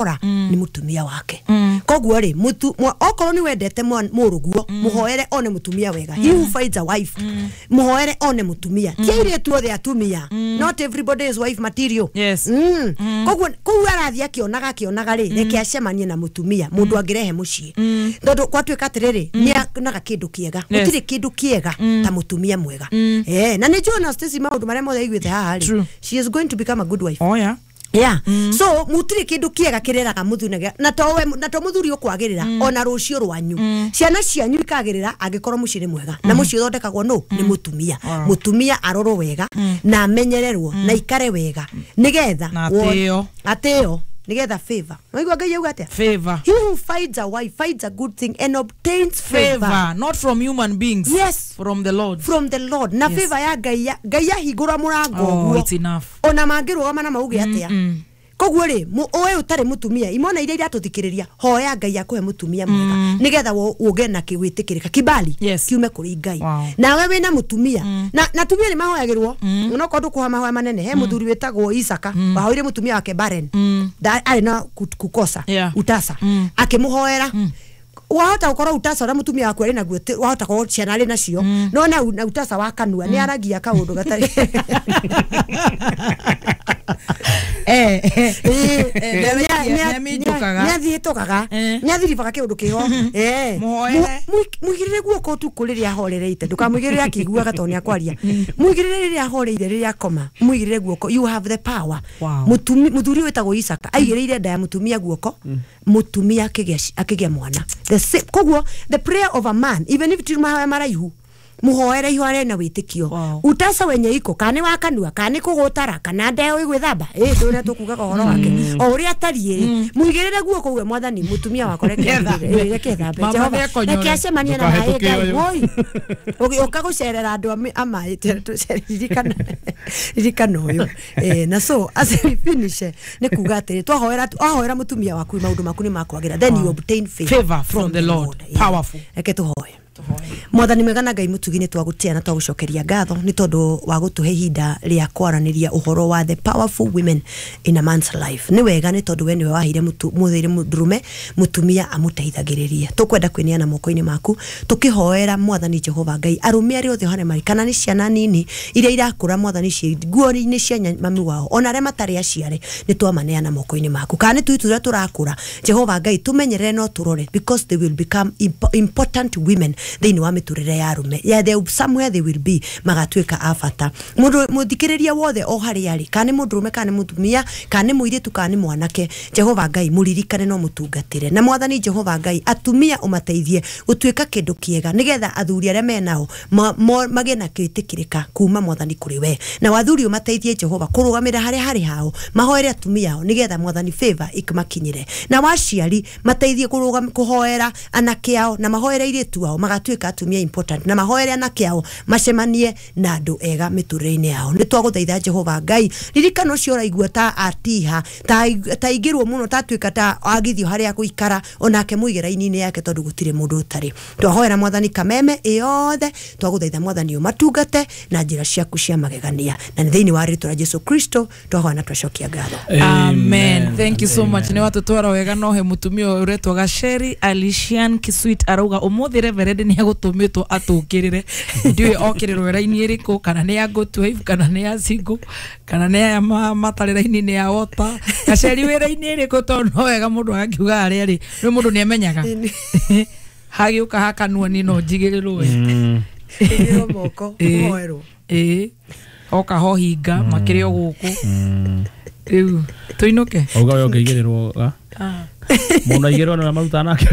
Ora nĩ mũtumia wake. Koguo rĩ, okorwo nĩ wendete mũrũguo, mũhoere one mũtumia wega. He who finds a wife, mũhoere one mũtumia. Ti airĩtu othe atumia. Not everybody is wife material. Koguo kũu arathiĩ akĩonaga rĩ, reke acemanie na mũtumia mũndũ angĩrehe mũciĩ, tondũ gwatuĩka atĩrĩrĩ, nĩ onaga kĩndũ kĩega. Gũtirĩ kĩndũ kĩega ta mũtumia mwega. Na nĩ njũĩ ona Stacy, maũndũ marĩa mothe aiguĩte haha rĩ, she is going to become a good wife. Yeah. So mutire kindu kiega kireraga muthuri na to we na to muthuri ukwagirira, ona rucio rwanyu, ciana cianyu ikagirira angikorwo muciĩ nĩ mwega. Na muciĩ uthondekagwo no nĩ mutumia. Mutumia arorwo wega na amenyererwo na ikare wega nigetha Na atĩo. Atĩo nigetha favor. Waigua Ngai auga atia? Favor. He who finds a wife finds a good thing and obtains favor. Favor, not from human beings. From the Lord. From the Lord. Na favor ya Ngai, Ngai ahingũra mũrango Oh, ũguo, it's enough. Ona mangĩrũgama na mauge atĩa. Koguo rĩ, ũĩ ũtarĩ mũtumia, imona iria iratũthikĩrĩria, hoya Ngai akũhe mũtumia mwega nĩgetha ũgĩe na kĩwĩtĩkĩrĩka, kibali kiume kũrĩ Ngai. Nawe wĩna mũtumia na atumia nĩ mahoyagĩrwo, onokorwo ndũkũhoya mahoya manene. He mũthuri wĩtagwo Isaka wahoire mũtumia wake barren. Arĩ na kukosa utasa, akĩmũhoera. Wahota gukorwo utasa ũrĩa mũtumia waku arĩ naguo wahota korwo ciana arĩ nacio, no na utasa wa kanua nĩ aragia kaũndũ gatarĩ. Nĩaminjũkaga. Nĩ athiĩtũkaga, nĩ athiribaga kĩũndũ kĩho. Mũhoere. Mũigĩrĩre guoko ũtukũ rĩrĩa ahorereite. Ndũkamũigĩrĩre akĩiguaga tondũ nĩ akwaria. Mũigĩrĩre rĩrĩa ahoreire, rĩrĩa akoma, mũigĩrĩre guoko. You have the power. Mũthuri wĩtagwo Isaka aigĩrĩire nda ya mũtumia guoko, mũtumia akĩgĩa mwana. The same, koguo the prayer of a man, even if ti mahoya maraihu, muhoere ihoere na wĩtĩkio. Utasa wenye iko, kana nĩ wa kanua, kana nĩ kũgũtara, kana ndeo ĩgwĩthamba, ĩ ndũrĩa tũkugaga ũhoro wake o ũrĩa atariĩ, mũigĩrĩre guoko uge, "Mwathani, mũtumia wakwa reke Nĩethambe. reke ethambe. Mama Jehova, nĩekonyore. reke acemanie na maĩ." Ndũkahĩtũke Ngai ũyũ. woi ũgĩũka gũcerera andũ a maĩ, ririkana, ririkana ũyũ. Na so as we finish, nĩ kuga atĩrĩ, twahoera, wahoera mũtumia waku, maũndũ maku nĩ makwagĩra. Then you obtain favor, Favor from the Lord. Powerful. Reke tũhoe. Mwathani mwega na Ngai mũtugi, nĩ twagũtĩa na twagũcokeria ngatho nĩ tondũ wa gũtũhe ihinda rĩa kwaranĩria ũhoro wa the powerful women in a man's life. Nĩ wega nĩ tondũ we nĩwe waheire mũthĩire mũndũrũme mũtumia amũteithagĩrĩrie. Tũkwenda kwĩneana moko-inĩ maku tũkĩhoera, Mwathani Jehova Ngai, arũme arĩa othe harĩa marĩ, kana nĩ ciana nini iria irakũra, Mwathani, ciĩ nguo-inĩ cia mami wao, ona arĩa matarĩ aciare, nĩ twamaneana moko-inĩ maku. Kana nĩ tũi tũrĩa tũrakũra, Jehova Ngai, tũmenyerere no tũrore, because they will become important women thĩinĩ wa mĩtũrĩre ya arũme. Yeah, they, somewhere they will be, magatuĩka a bata. Mũndũ mũthikĩrĩria wothe o harĩa arĩ, kana nĩ mũndũrũme, kana nĩ mũtumia, kana nĩ mũirĩtu, kana nĩ mwanake, Jehova Ngai, mũririkane no mũtungatĩre. Na Mwathani Jehova Ngai, atumia ũmateithie gũtuĩka kĩndũ kĩega nĩgetha athuri arĩa menao magĩe na gwĩtĩkĩrĩka kuma, Mwathani, kũrĩ we. Na wathuri ũmateithie, Jehova, kũrũgamĩra harĩa harĩ hao, mahoere atumia ao nĩgetha, Mwathani, favor ĩmakinyĩre. Na waciari mateithie kũhoera anake ao na mahoere airĩtu ao magatuĩka atumia important, na mahoere anake ao macemanie na andũ ega mĩtũrĩre-inĩ yao. Nĩ twagũthaitha, Jehova Ngai, ririkana ũcio ũraigua ta atiha, ta aingĩrwo mũno, ta atuĩka ta agithio harĩa gũikara, onake mũige raini-inĩ yake, tondũ gũtirĩ mũndũ ũtarĩ. Twahoera, Mwathani, kameme ĩyothe. Twagũthaitha, Mwathani, ũmatungate na njĩra ciaku cia magegania, na nĩ thĩinĩ wa rĩtwa rĩa Jesu Kristo twahoya na twacokia ngatho. Amen. Thank you so much. Nĩ watũtwara wega. No he mũtumia ũyũ ũretwo Gaceri Alician Kiswit arauga ũmũthĩ reverend nĩ egũtũmĩtwo atũkĩrĩre. Ndiũĩ okĩrĩrwo raini ĩrĩkũ, kana nĩ ya good wife, kana nĩ ya single, kana nĩ aya matarĩ raini-inĩ ya wota. Gaceri, wĩ raini ĩrĩkũ? Tondũ no wega mũndũ agakiuga harĩa arĩ nĩ mũndũ nĩ amenyaga hagĩũka hakanua ni no njigĩrĩrwo. Ĩgĩrwo moko, ũhoerwo. Ĩĩ, oka ho hinga makĩrĩ o gũkũ rĩu tũinũke. Auga we ũngĩigĩrĩrwo mũndũ aigĩrĩrwo na marutaga nake.